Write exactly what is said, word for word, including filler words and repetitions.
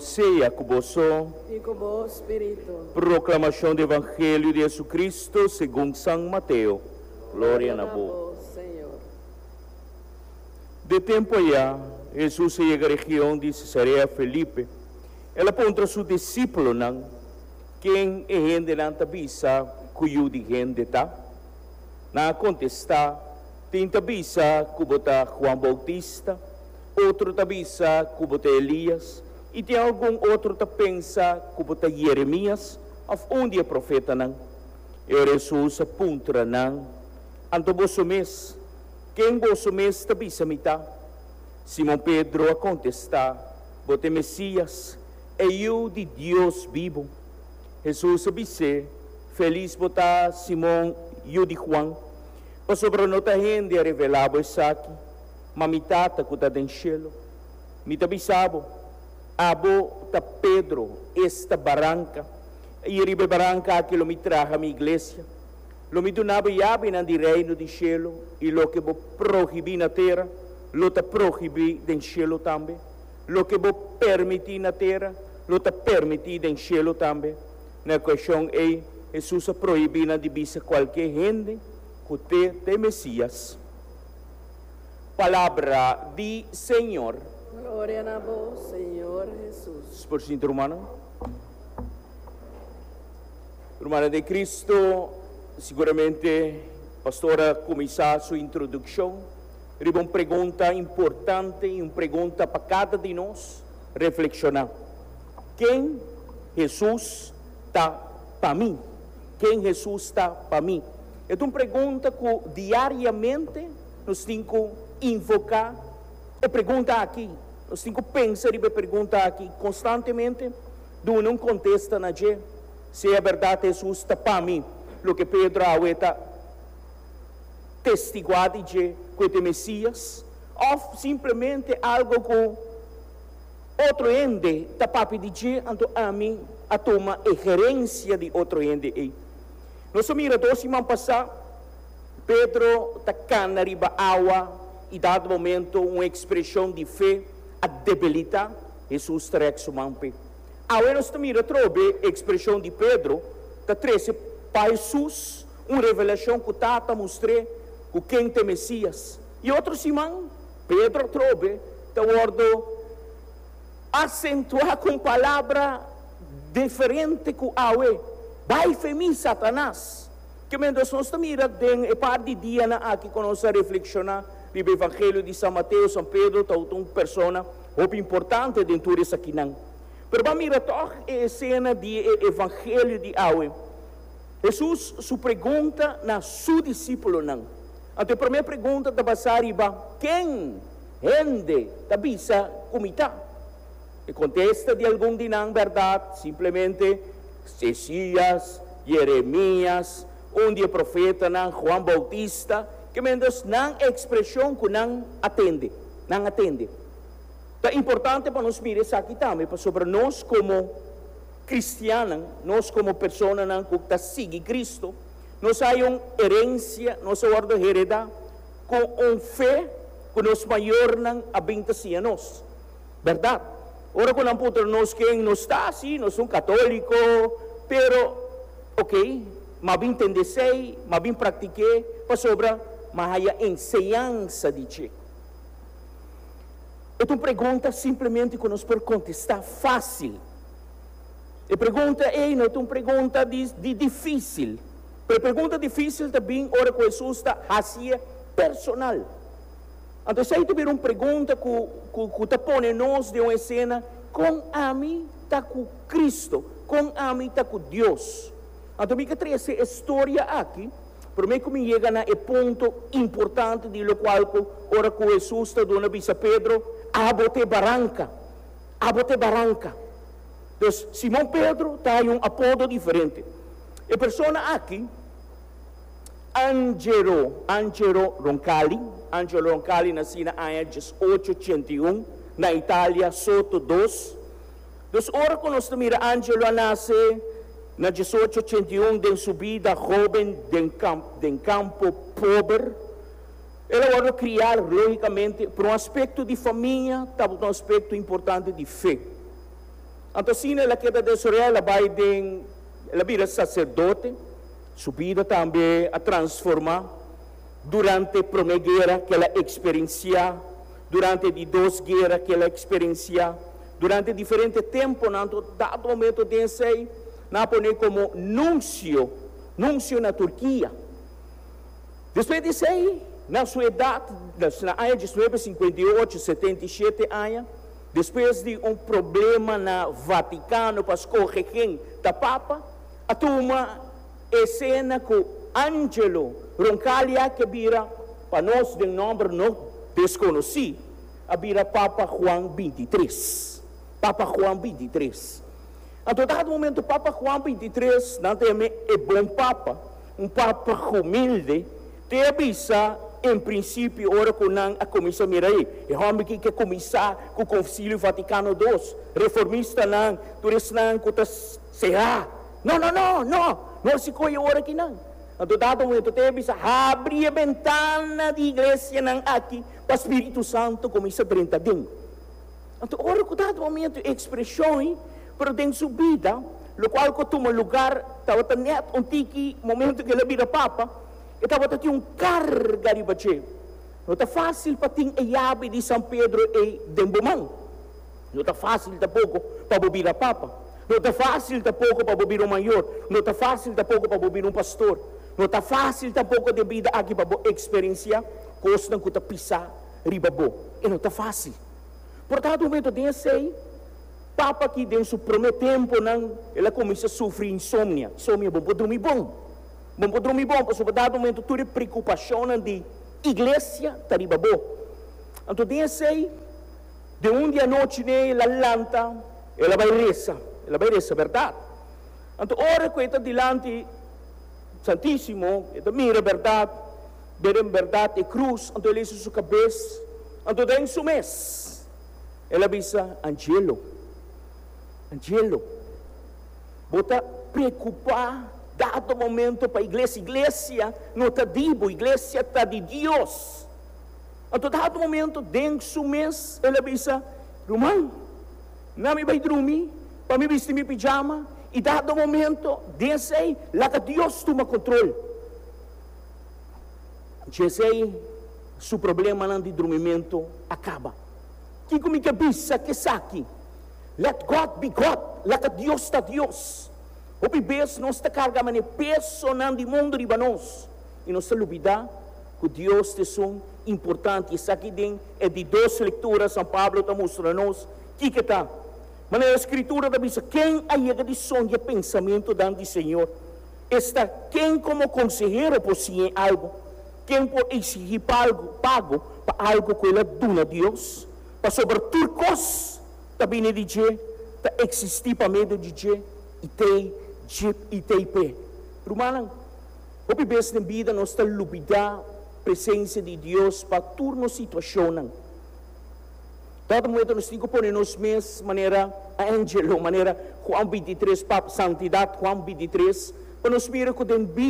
Señor sea ku boso. I ku bo spiritu. Proklamashon di Evangelio di Jesucristo segun San Mateo. Gloria na bo, Señor. Den e tempu ei, Jesus a yega region di Cesarea Felipe. El a puntra su disipelnan: "Ken e hendenan ta bisa ku Yu di Hende ta?" Nan a kontestá: "Tin ta bisa ku bo ta Juan Bautista, otro ta bisa ku bo ta Elias, i tin algun otro ta pensa ku bo ta Jeremias òf un di e profetanan." I Jesus a puntra nan: "Anto boso mes, ken boso mes ta bisa mi ta?" Simon Pedro a kontestá: "Bo ta Mesias, e Yu di Dios bibu." Jesus a bis'é: "Felis bo ta, Simon, yu di Juan, pasobra no ta hende a revelá bo esaki, ma mi Tata ku ta den shelu. Mi ta bisa bo, abo ta Pedro, esta baranka, i riba e baranka aki lo mi traha mi iglesia. Lo mi duna bo yabinan di reino di shelu, i loke bo prohibí na tera, lo ta prohibí den shelu tambe. Loke bo permití na tera, lo ta permití den shelu tambe." Na e okashon ei, Jesus a prohibí nan di bisa kualke hende ku t'e ta e Mesias. Palabra di Señor. Gloria na bo, Señor Jesus. Por sinta, ruman. Ruman den Cristo, siguramente pastor a kuminsá su introdukshon riba un pregunta importante i un pregunta pa kada di nos reflekshoná. Ken Jesus ta pa mi? Ken Jesus ta pa mi? E un pregunta ku diariamente nos tin ku invoká e pregunta aki. Nos tin ku pensa riba e pregunta aki konstantemente, duna un kontesta na dje. Si ta berdat Jesus ta pa mi, loke Pedro a testiguá di dje ku e Mesias, òf simplemente algu ku otro hende ta papia di dje, anto ami a tuma e herensia di otro hende ei. Nos a mira dos siman pasá, Pedro ta kana riba awa i dado momento un ekspreshon di fe a debilitá, Jesus ta rèk su man p'e. Awe nos mira trobe ekspreshon di Pedro, ta trese pa Jesus un revelashon ku Tata a mustr'é ku ken ta Mesias. I otro siman, Pedro trobe ta wòrdu asentuá ku palabra diferente ku awe. "Bai fo'i mi, Satanas." Ke men nos mira den e par di dianan aki ku nos a reflekshoná riba Evangelio di San Mateo, San Pedro ta un persona hopi importante den tur esakinan. Pero ban mira toch e esena di Evangelio di awe. Jesus su pregunta na su disipelnan. E promé pregunta ta basá riba: "Ken hende ta bisa ku mi ta?" E kontesta di algun di nan, berdat, simplemente Mesías, Jeremias, un di e profetanan, Juan Bautista, ke men nan ekspreshon ku nan a tende, nan a tende. Ta importante pa nos mira esaki tambe, pasobra nos komo kristiannan, nos komo personanan ku ta sigui Cristo, nos tin un herensia, nos a wòrdu heredá ku un fe ku nos mayornan a bin ta siña nos. Berdat? Ora ku nan puntra nos ken nos ta, sí, nos ta katóliko, pero, ok, m'a bin tende esei, m'a bin praktik'é, pasobra m'a haya enseñansa di dje. E un pregunta simplemente ku nos por kontestá fásil. E pregunta ei no ta un pregunta di, di difísil. Pero pregunta difísil ta bin ora ku Jesus ta hasié personal. Anto, esei ta un pregunta ku, ku, ku ta pone nos den un esena: kon ami ta ku Cristo, kon ami ta ku Dios? Anto, mi ke trese e historia aki, promé ku mi yega na e punto importante di lokual ku ora ku Jesus ta duna bisa Pedro: "Abo ta baranka, abo ta baranka." Anto, Simon Pedro ta un apodo diferente. E persona aki, Angelo, Angelo Roncalli, Angelo Roncalli nasé na aña diesocho ochenta i un na Italia, Soto dos. Dus ora ku nos mira Angelo nase na diesocho ochenta i un den su bida hóben den kampo, den kampo pober, el a wòrdu kriá, lógikamente, pa un aspekto di famia, tabata un aspekto importante di fe. Anto asina el a keda desaroyá, el a bai den, el a bira saserdote, su bida tambe a transformá durante promé guera ku el a eksperensiá, durante di dos guera ku el a eksperensiá, durante diferente tempunan. Dado momento den esei, nan a pon'é komo nunsio, nunsio na Turkia. Despues di esei, na su edat, na aña diesnuebe sinkuenta i ocho, setenta i shete aña, despues di un problema na Vatikano pa skohe ken ta papa, a tuma esena ku Angelo Roncalli a ke bira, pa nos den nòmber no deskonosí, a bira Papa Juan bintitres. Papa Juan bintitres. Anto dado momento Papa Juan bintitres, nan ta yam'é e bon papa, un papa humilde, te a bisa en prinsipio ora ku nan a kuminsá mira ei, e hòmber ki ke kuminsá ku Konsilio Vatikano dos, reformistanan, tur esnan ku ta será. No, no, no, no! No hasi koe ora kinan. Anto dado momento te a bisa, habri e bentana di iglesianan aki pa Spiritu Santu kuminsá drenta aden. Anto ora ku dado momento e ekspreshon ei, pero den su bida, lokual ku a tuma lugar tabata nèt un tiki momento ku el a bira papa, e tabata tin un karga riba dje. No ta fásil pa tin e yabi di San Pedro ei den bo man. No ta fásil tampoko pa bo bira papa. No ta fásil tampoko pa bo bira un mayor. No ta fásil tampoko pa bo bira un pastor. No ta fásil tampoko den bida aki pa bo eksperensiá kosnan ku ta pisá riba bo. E no ta fásil. Por dado momento den esei, papa aki den su promé tempunan el a kuminsá sufri insomnia. Insomnia, bo por drumi bon. Bo por drumi bon pasobra dado momento tur e preokupashonnan di iglesia ta riba bo. Anto den esei, den un di anochi n'e el a lanta, el a bai resa. El a bai resa bèrdat. Anto ora ku e ta dilanti Santísimo, e ta mira bèrdat, bira en bèrdat e krus, anto el hisa su kabes, anto den su mes el a bisa, Angelo, Angelo, bo ta preokupá dado momento pa iglesia. Iglesia no ta di bo, iglesia ta di Dios. Anto dado momento den su mes el a bisa, Ruman, na mi bai drumi pa mi bisti mi pijama i dado momento den esei laga Dios tuma kontrol. Djesei su problemanan di drumimentu a kaba. Kiko mi ke bisa ku esaki? Let God be God, laga Dios ta Dios. Hopi bes nos ta karga manera pesonan di mundu riba nos i nos ta lubidá ku Dios ta esun importante. Esaki den e di dos lektura San Pablo ta mustra nos kiko ta. Manera e Skritura ta bisa, Ken a yega di sondia pensamentunan di Señor? Esta, ken komo konsehero por siñ'é algu? Ken por eksigí pago pa algu ku el a duna Dios? Pasobra tur kos ta bini di dje, ta eksistí pa medio di dje i t'ei dje i t'ei p'e. Rumannan, hopi bes den bida nos ta lubidá presensia di Dios pa tur nos situashonnan. Dado momento nos tin ku pone nos mes manera Angelo, manera Juan bintitres, pap, Santidat Juan bintitres, pa nos mira ku den bida.